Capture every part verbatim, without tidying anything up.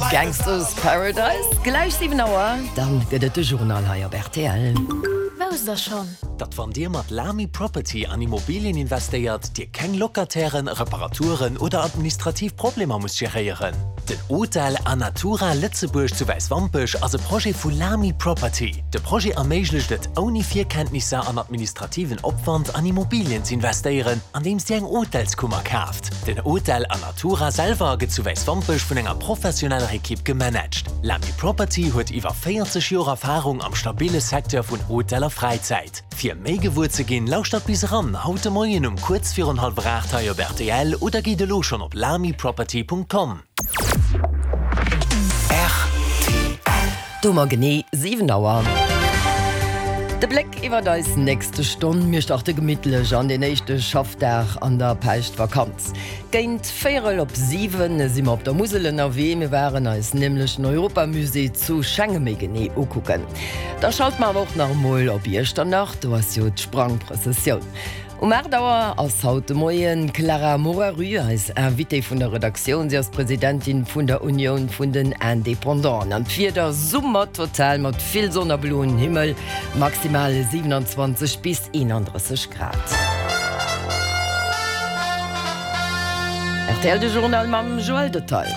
Gangsta's Paradise. Gläich siwen Auer, dann gëtt et de Journal hei op R T L. Wousst der schonn? Datt wann Dir mat Lamy Property an Immobilien investéiert, Dir keng Locatairen, Reparaturen oder administrativ Problemer musst geréieren. Den Hotel Anatura Lëtzebuerg zu Wäiswampech ass e Projet vu Lamy Property. De Projet erméiglecht et, ouni Virkenntnisser an administrativen Opwand an Immobilien ze investéieren, andeems Dir eng Hotelskummer kaaft. Den Hotel Anatura selwer gëtt zu Wäiswampech vun enger professioneller Ekipp gemanagt. Lamy Property huet iwwer véierzeg Joer Erfarung am stabile Secteur vun Hotel a Fräizäit. Fir méi gewuer ze ginn, lauschtert bis eran haut de Moien um kuerz virun hallwer aacht hei op R T L oder gitt elo schonn op lamyproperty Punkt com. Do hu mer genee siwen Auer. De Bléck iwwer eis nächste Stonn. Mir starte gemittlech an den éischte Schaffdag an der Päischtvakanz. Géint véierel op siwen si mer op der Musel ënnerwee. Mir waren eis nämlech den Europamusée zu Schengen méi genee ukucken. Da schalte mer awer och nach emol op Iechternach, do ass jo d'Sprangprëssessioun. Um aacht Auer ass haut de Moien d'Clara Moraru eis Invitée vun der Redaktioun. Si ass Presidentin vun der Unioun vun den Indépendanten. An d'Wieder Summer total mat vill Sonn a bloen Himmel, maximal siewenundzwanzeg bis eenandrësseg Grad. R T L de Journal mam Joël Detail.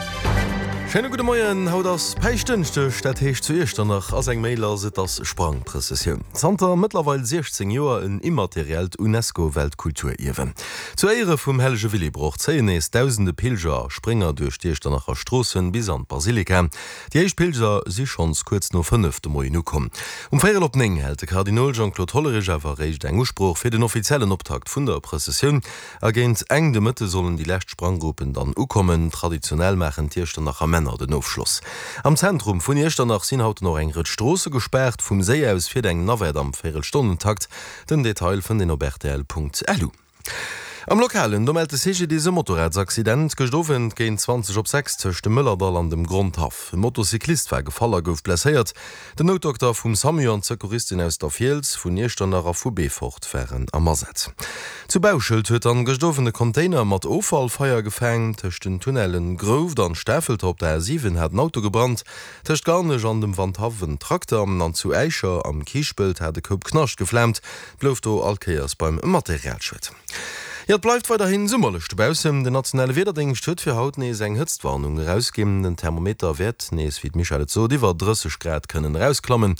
Schéine gudde Moien, haut ass Päischtdënschdeg, dat heescht zu Iechternach ass eng Méi lass, et ass Sprangprëssessioun. Zanter mëttlerweil siechzéng Joer en immateriellt UNESCO-Weltkulturierwen. Zu Éiere vum hellege Willibrord zéien nees dausende Pilger a Sprénger duerch d'Iechternacher Stroossen bis an d'Basilika. Déi éischt Pilger si schonns kuerz no fënnef de Moien ukomm. Um véierel op néng hält de Kardinol Jean-Claude Hollerich awer eréischt eng Usprooch fir den offiziellen Optakt vun der Prëssessioun. A géint eng de Mëtte sollen déi lescht Spranggruppen dann ukommen. Traditionell maachen d'Iechternacher Männer den Ofschloss. Am Zentrum vun Iechternach sinn haut nach eng Rëtsch Stroosse gespaart. Vum Séi aus fiert eng Navette am Véierelstonnentakt. Den Detail fënnt een op R T L Punkt L U. Am Lokalen, do mellt de C G D I S e Motorradsaccident gëscht Owend géint zwanzeg op sechs tëscht dem Mëllerdall an dem Grondhaff. E Motocyclist war gefall a gouf blesséiert. Den Noutdokter vum SAMU an d'Secouristen aus der Fiels, vun Iechternach a vu Beefort waren am Asaz. Zu Bauschelt huet dann gëscht Owend e Container mat Offall Feier gefaangen. Tëscht den Tunnellen Grouft an Stafelter op der A siwen hat en Auto gebrannt. Tëscht Garnech an dem Wandhaff en Trakter an zu Äischer am Kiischpelt hat e Koup Knascht geflaamt. Blouf do all Kéiers beim Materialschued. Jo, et bleift weiderhin summerlech dobaussen. Den nationale Wiederdéngscht huet fir haut nees eng Hëtztwarnung erausginn. Den Thermometer wäert nees, wéi d'Michèle et sot, iwwer drësseg Grad kënnen erausklammen.